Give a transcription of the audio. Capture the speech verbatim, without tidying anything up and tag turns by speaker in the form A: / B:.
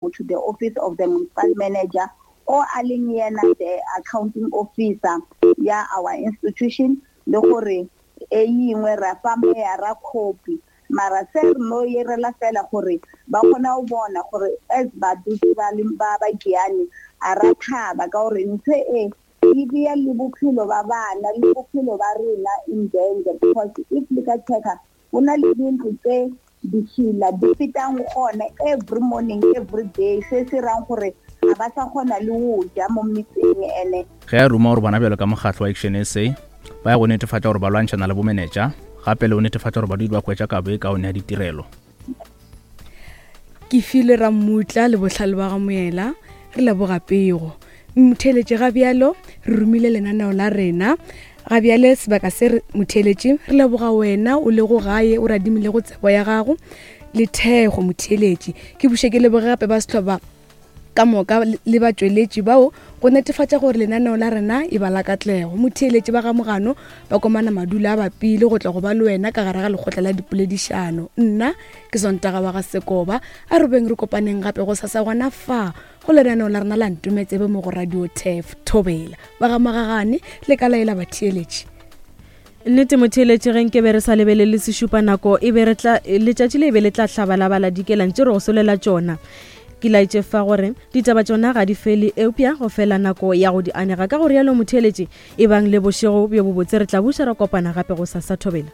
A: To the office of the municipal manager o a leng yena the accounting officer ya our institution, le gore e yingwe ra fa meyara copy. Mara se re no yerela fela gore ba kgona go bona gore as badudi ba le ba ba Giyani a ra thaba ka gore ntho e e bea le bophelo ba bana le bophelo ba rena in danger, because if le ka checka, go na le dintlo tse ditšhila di fetang gona every morning, every day, se se rang gore ga ba sa kgona le go ja mo metseng ene.
B: Ge a ruma gore bona bjalo ka mokgatlo wa Action S A ba ya go netefatša gore ba lwantšhana le bomenetša, gape le go netefatša gore badudi ba hwetša kabo e kaone ya ditirelo.
C: Ke file Rammutla le bohlale ba ga Moela, re leboga pego. Motheeletše, ga bjalo re romile lenaneo la rena ga bjale sebaka se re motheeletše, re leboga wena o lego gae o radimilego tsebo ya gago le thekgo. Motheeletše, ke buše ke leboge gape ba setlhoba ka moka le batšweletši bao go netefatša gore lenaneo la rena e ba la katlego. Motheeletše, ba gamogano ba komana madula a bapile go tla go ba le wena ka gare ga lekgotla la dipoledišano. Nna ke Sontaga wa ga Sekoba. A re beng re kopaneng gape go sasa gona fa go lenaneo la rena la Ntometsebe mo go Radio Tef Thobela. Ba ga Magagane le ka laela batheeletši.
D: Nnete motheeletše, ge nke be re sa lebelele sešupa nako e be re tla letšatši le e be le tla hlabalabala dikelang tše re go solela tšona. Ke laetše fa gore ditaba tšona ga di fele, eupša go fela nako ya go di anega. Ka go rialo motheeletše, e bang le bošego bjo bobotse. Re tla buša ra kopana gape go sasa. Thobela.